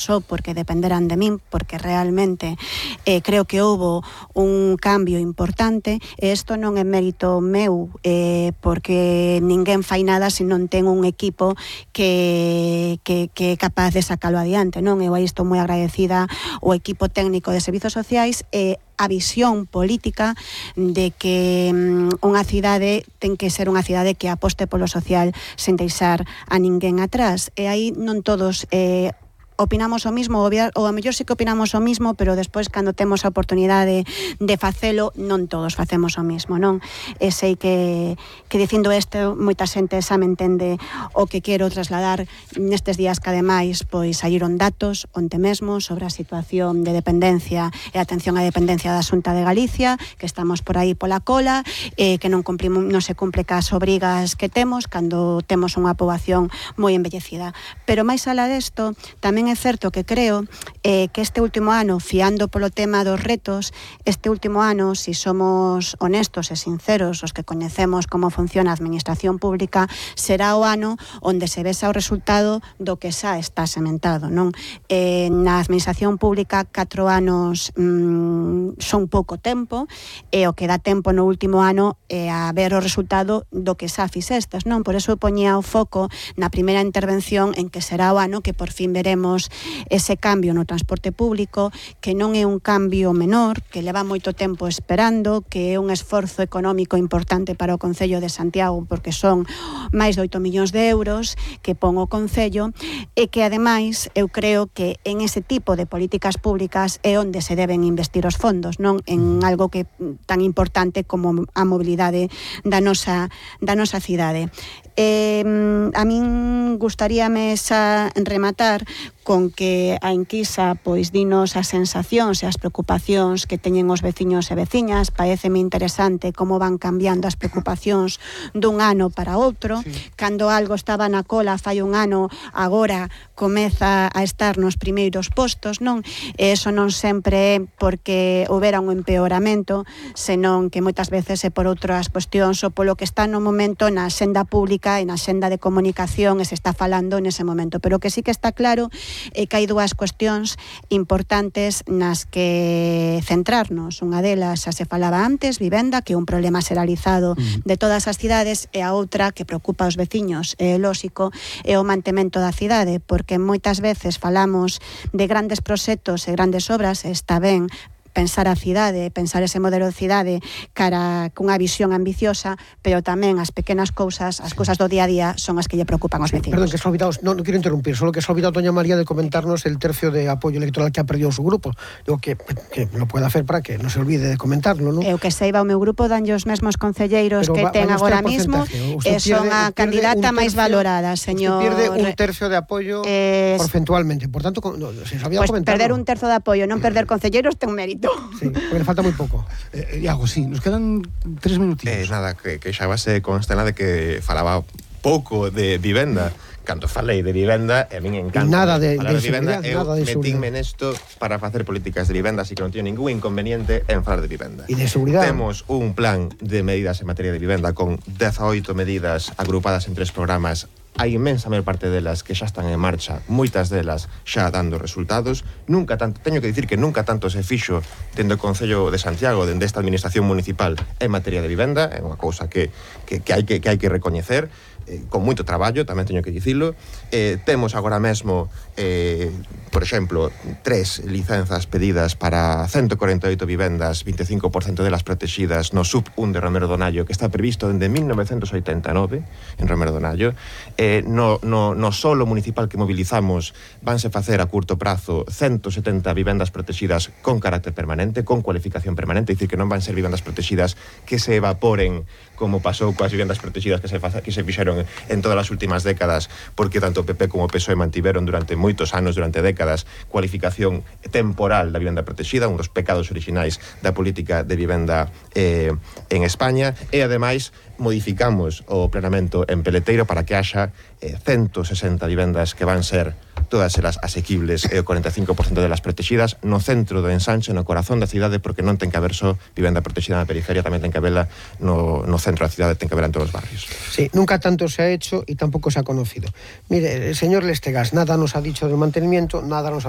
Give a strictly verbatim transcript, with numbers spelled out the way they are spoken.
só porque dependeran de min, porque realmente eh, creo que houbo un cambio importante, e isto non é mérito meu, eh, porque ninguén fai nada se non ten un equipo que, que, que é capaz de sacalo adiante, non? Eu aí estou moi agradecida ao equipo técnico de servizos sociais e a visión política de que um, unha cidade ten que ser unha cidade que aposte polo social sen deixar a ninguén atrás, e aí non todos eh, opinamos o mismo, ou a mellor sí que opinamos o mismo, pero despois cando temos a oportunidade de facelo, non todos facemos o mismo, non? E sei que, que dicindo isto, moita xente xa me entende o que quero trasladar nestes días que ademais pois saíron datos onte mesmo sobre a situación de dependencia e atención á dependencia da Xunta de Galicia, que estamos por aí pola cola, eh, que non cumplimos, non se cumple cas obrigas que temos cando temos unha poboación moi envellecida. Pero máis alá desto, tamén é certo que creo eh, que este último ano, fiando polo tema dos retos, este último ano, si somos honestos e sinceros, os que coñecemos como funciona a administración pública, será o ano onde se vexa o resultado do que xa está sementado, non? Eh, na administración pública, catro anos mmm, son pouco tempo, e o que dá tempo no último ano é a ver o resultado do que xa fixestes, non? Por eso poñía o foco na primeira intervención en que será o ano que por fin veremos ese cambio no transporte público, que non é un cambio menor, que leva moito tempo esperando, que é un esforzo económico importante para o Concello de Santiago, porque son máis de oito millóns de euros que pon o Concello, e que ademais eu creo que en ese tipo de políticas públicas é onde se deben investir os fondos, non en algo que tan importante como a mobilidade da nosa, da nosa cidade. Eh, a min gustaríame xa rematar con que a enquisa pois dinos as sensacións e as preocupacións que teñen os veciños e veciñas. Paréceme interesante como van cambiando as preocupacións dun ano para outro. Sí. Cando algo estaba na cola fai un ano, agora comeza a estar nos primeiros postos, non? E eso non sempre é porque houbera un empeoramento, senón que moitas veces é por outras cuestións ou polo que está no momento na axenda pública e na axenda de comunicación e se está falando nese momento. Pero que sí que está claro é que hai dúas cuestións importantes nas que centrarnos. Unha delas, xa se falaba antes, vivenda, que é un problema xeralizado de todas as cidades, e a outra que preocupa aos veciños, é lóxico, é o mantemento da cidade, porque moitas veces falamos de grandes proxectos e grandes obras, e está ben pensar a cidade, pensar ese modelo de cidade cara cunha visión ambiciosa, pero tamén as pequenas cousas, as cousas do día a día son as que lle preocupan aos vecinos. Perdón, que se ha olvidado, no, no quiero interrumpir, solo que se ha olvidado doña María de comentarnos el tercio de apoyo electoral que ha perdido su grupo. Digo que, que lo pueda hacer para que no se olvide de comentarlo, ¿no? Eu que seiba, o meu grupo danlle os mesmos concelleiros pero que va, ten agora mismo e son a candidata máis valorada, señor. Usted pierde un tercio de apoyo eh, porcentualmente, por tanto, no, se sabía pues comentarlo. Perder un terzo de apoyo, non perder concelleiros ten mérito. Sí, porque le falta moi pouco. Eh, Iago, sí, nos quedan tres minutitos. Eh, nada, que, que xa base constela de que falaba pouco de vivenda. Cando falei de vivenda, e a min encanta nada de, falar de, de vivenda, eu metínme nesto para facer políticas de vivenda, así que non teño ningún inconveniente en falar de vivenda. E de seguridade. Temos un plan de medidas en materia de vivenda con dezaoito medidas agrupadas en tres programas. A inmensa maior parte delas que xa están en marcha, moitas delas xa dando resultados. Nunca tanto, teño que dicir que nunca tanto se fixo dende o Concello de Santiago, dende esta administración municipal en materia de vivenda, é unha cousa que, que, que, hai, que, que hai que recoñecer, eh, con moito traballo, tamén teño que dicilo. Eh, temos agora mesmo, eh, por exemplo, tres licenzas pedidas para ciento cuarenta e oito vivendas, vinte e cinco por cento delas protegidas no sub un de Romero Donallo, que está previsto dende mil novecentos oitenta e nove en Romero Donallo. Eh, no, no, no solo municipal que mobilizamos vanse facer a curto prazo ciento setenta vivendas protegidas con carácter permanente, con cualificación permanente, é dicir, que non van ser vivendas protegidas que se evaporen como pasou coas vivendas protegidas que se, fa, que se fixeron en todas as últimas décadas, porque tanto o P P como o P S O E mantiveron durante moitos anos, durante décadas, cualificación temporal da vivenda protegida, un dos pecados orixinais da política de vivenda eh, en España, e ademais modificamos o planeamento en Peleteiro para que haxa eh, ciento sesenta vivendas que van ser todas elas asequibles e o cuarenta e cinco por cento delas protegidas no centro do ensanche, no corazón da cidade, porque non ten que haber só vivenda protegida na periferia, tamén ten que haberla no, no centro da cidade, ten que haberla en todos os barrios. Sí, nunca tanto se ha hecho y tampoco se ha conocido. Mire, el señor Lestegas nada nos ha dicho del mantenimiento, nada nos ha dicho